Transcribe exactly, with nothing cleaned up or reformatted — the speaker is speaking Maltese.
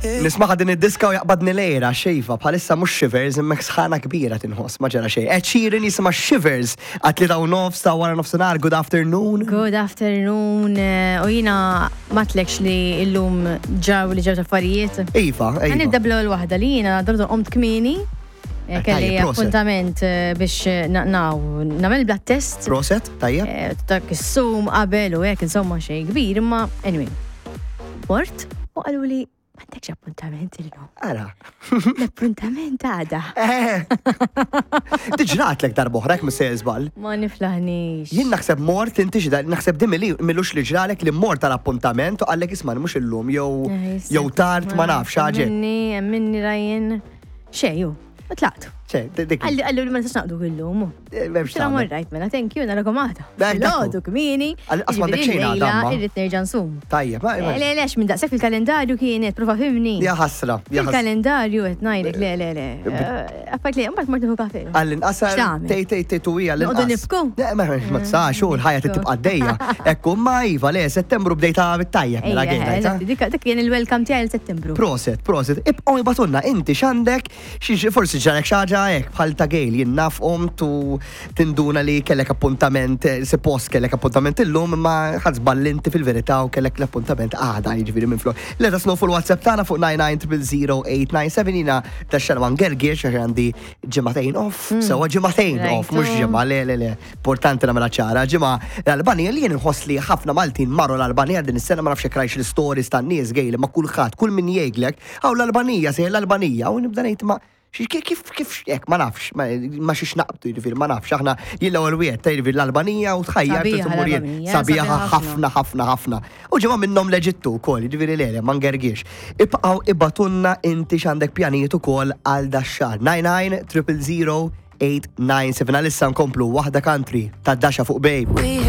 Nismaħa din id-diska u jaqbadni lejra xejfa, bħalissa mhux shivers imma sħana kbira tinħoss, ma ġara xejn. Ed Sheeran jisimha Shivers għat li daw nofs ta' wara nofsinhar, good afternoon. Good afternoon. eh, U jina matlekx li illum ġaw li ġew affarijiet. Iva, iva. Nibda bl-ewwel waħda li jiena dordu qomt kmieni. eh, Eh, Kelli tajjeb, proset. appuntament eh, biex eh, na- naw nagħmel blood test. Proset, tajjeb. Eh, Dak is-sum qabel u hekk insomma xejn kbir, imma anyway. Mort u qalu li m'għandekx appuntament illum. Ara. L-appuntament għada. Eh. Diġratlek darb'oħra jekk mhux se żball. Ma niflaħnix. Jien naħseb mort inti xi naħseb di mili- milux li ġralek li mort tal-appuntament u qallek isma' mhux illum jew Eh, jista' jew tard ma nafx ħaġa. Minni, minni rajn. Xejju, u tlaqtu. Ċe, dik. Għalli għallu li ma nistax naqdu illum. eh, m'hemmx Tira tagħmel. morrajt mela, thank you, narakom għada. Dak, dak hu. Filgħodu kmieni. Għal- qas m'għandek xejn għada, ma. Irrid nerġa' nsum. Tajjeb, ma- ma- Le, le, minn daqshekk fil-kalendarju kienet, prova fimni. Ja ħasra, ja ħasra. Fil-kalendarju qed ngħidlek, le, le, le. Eh, Affajt li, mbagħad mort nieħu kafe. Għall-inqas X'tagħmel? tej tej tej tu hija Noqogħdu l-inqas. nibku? Le, ma ma tistax, u l-ħajja tibqa' għaddejja. Ekku, ma iva, le, Settembru bdejta bit-tajjeb mela Ejja, għejda. eżatt, dik dik kien il-welcome tiegħi l-Settembru. Proset, proset. Ibqgħu ibatunna inti x'għandek, xi forsi ġarek xi ħaġa hekk bħal ta' Gail jien naf qomt u tinduna li kellek appuntament, eh, suppost kellek appuntament illum imma ħadd żball inti fil-verità u kellek l-appuntament għada jiġifieri minn flok. Let us know fuq il-WhatsApp tagħna fuq nine nine zero zero eight nine seven. Jiena dax-xahar ma ngergirx għax għandi ġimagħtejn off, sewa ġimagħtejn Right. off, mhux ġimgħa, le le le, importanti nagħmilha ċara. Ġimgħa l-Albanija li jien inħoss li ħafna Maltin marru l-Albanija din is-sena, ma nafx jekk rajx l-stories tan-nies Gail, ma kulħadd, kull min jgħidlek, hawn l-Albanija, sejjer l-Albanija, u nibda ngħid ma xi- kif kif kif hekk ma nafx, ma ma xiex naqbdu jiġifieri ma nafx aħna jien l-ewwel wieħed ta' jiġifieri l-Albanija u tħajjar Sabiħa tmur jien. l-Albanija, Sabiħa sabiħa ħafna ħafna ħafna. U ġimgħa minnhom l-Eġittu wkoll, jiġifieri le le ma ngergiex. Ibqgħu ibatunna inti x'għandek pjanijiet ukoll għal dax-xahar. nine nine zero zero eight nine seven. Għalissa nkomplu waħda country ta' Dasha fuq Babe. We